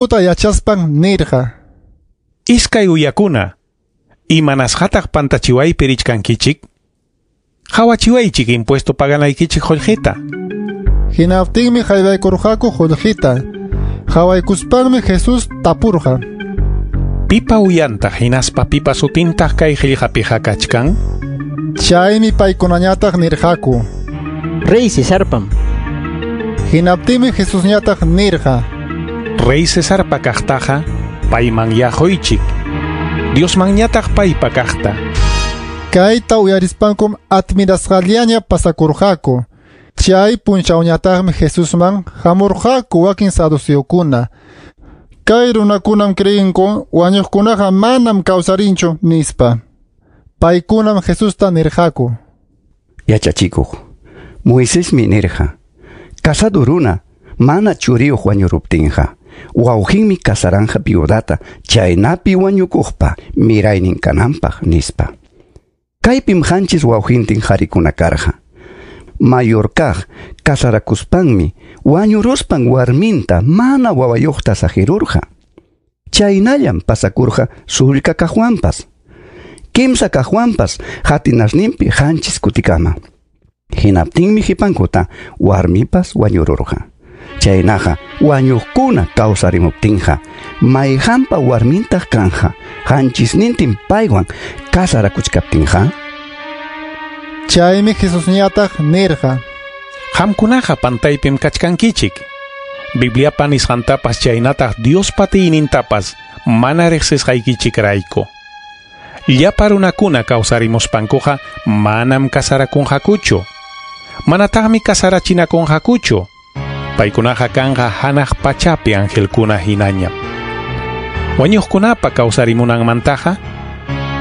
Yachaspan nirqa. Iskay uyakuna, imanasqataq pantachiwaypi richkankichik? Qawachiwaychik impuesto paganaykichik qullqita. Hinaptinmi haywaykurqaku qullqita. Qawaykuspanmi Jesús tapurqa. Pipa uyantaq hinaspa pipa sutintaq kay qillqapiqa kachkan? Chaymi paykunañataq nirqaku. Rey Cesarpam. Hinaptinmi Jesusñataq nirqa. Rey Cesarpa kaqtaqa payman yaquychik. Diosmanñataq paypa kaqta. Kayta uyarispankum admirasqallaña pasakurqaku. Chay punchawñataqmi Jesusman hamurqaku wakin saduceokuna. Kay runakunam creenku wañuqkunaqa manam kawsarinchu nispa. Paykunam Jesusta nirqaku. Yachachikuq, Moisesmi nirqa, casado runa mana churiyuq wañuruptinqa, wawqinmi casaranja viudata chaynapi wañukuqpa miraynin kananpaq nispa. Kaypim qanchis wawqintin qarikuna karqa. Mayor kaq casarakuspanmi wañuruspan warminta mana wawayuqta saqirurqa. Chaynallam pasakurqa sullka kaqwanpas. Kimsa kaqwanpas hatinasninpi qanchis kutikama. Hinaptinmi qipankuta warmipas wañururqa. Chaynaqa wañuqkuna kawsarimuptinqa mayqanpa warmintaq kanja qanchisnintin paywan casarakuchkaptinqa. Chaymi Jesusñataq nirqa. Qamkunaqa pantaypim kachkankichik. Bibliapa nisqantapas chaynataq Diospa atiynintapas mana riqsisqaykichikrayku. Llapa runakuna kawsarimuspankuqa manam casarakunqakuchu. Manataqmi casarachinakunqakuchu. Paykunaqa kanqa hanaq pachapi angelkuna hinañam. Wañuqkunapa kawsarimunanmantaqa,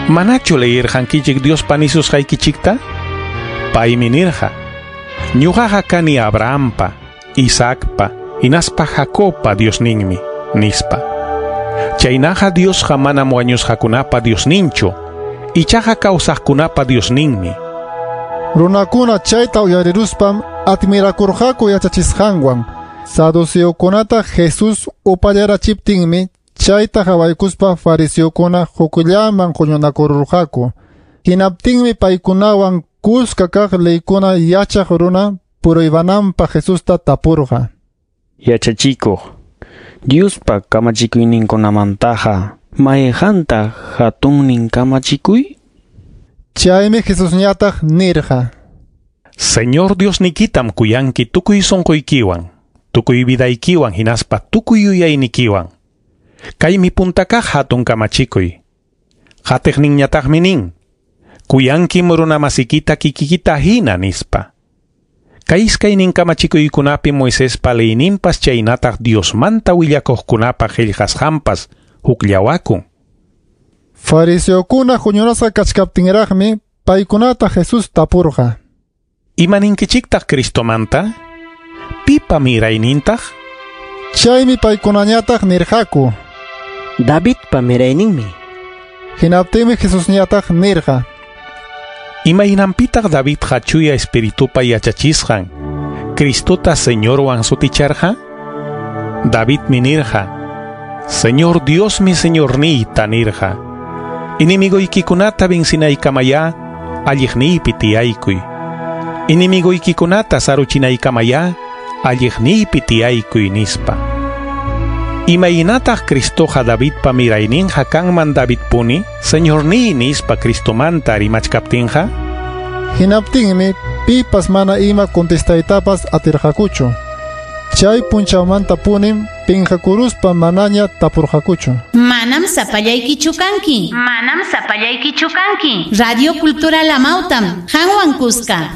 manachu leyirqankichik Diospa nisusqaykichikta? Paymi nirqa, ñuqaqa kani Abrahampa, Isaacpa, hinaspa Jacobpa Diosninmi, nispa. Chaynaqa Diosqa manam wañusqakunapa Diosninchu, ichaqa kawsaqkunapa Diosninmi. Runakuna chayta uyariruspam admirakurqaku yachachisqanwan. Saduceokunata Jesús upallarachiptinmi chayta qawaykuspa fariseokuna hukllaman huñunakururqaku. Hinaptinmi paykunawan kuska kaq leykuna yachaq runa puruybananpaq Jesusta tapurqa. Yachachikuq, Diospa kamachikuyninkunamantaqa mayqantaq hatunnin kamachikuy? Chaymi Jesusñataq nirqa. Señor Diosnikitam kuyanki tukuy sunquykiwan, tukuy vidaykiwan hinaspa tukuy yuyaynikiwan. Kaymi punta kaq hatun kamachikuy. Qatiqninñataqmi nin, kuyankim runamasikita kikikita hina nispa. Kay iskaynin kamachikuykunapi Moisespa leyninpas chaynataq Diosmanta willakuqkunapa qillqasqanpas hukllawakun. Fariseokuna huñunasqa kachkaptinraqmi paykunata Jesús tapurqa. Imaninkichiktaq Cristomanta? Pipa miraynintaq? Chaymi paykunañataq nirqaku. Davidpa mirayninmi. Hinaptinmi Jesusñataq nirqa. Imaynanpitaq Davidqa chuya espiritupa yachachisqan Cristota Señorwan suticharqa? Davidmi nirqa, Señor Diosmi Señorniyta nirqa. Enemigoykikunata vencinaykamayá alliqniypi tiyaykuy. Enemigoykikunata saruchinaykamayá alliqniypi tiyaykuy nispa. Imaynataq Cristoqa Davidpa mirayninqa kanman Davidpuni, Señorniy nispa Cristomanta rimachkaptinqa? Hinaptinmi pipas mana ima contestaytapas atirqakuchu. Chay punchawmantapunim pinqakuruspa manaña tapurqakuchu. Manam sapallaykichu kanki. Manam sapallaykichu kanki. Radio Cultura Lamautam, Hanwan Kuska.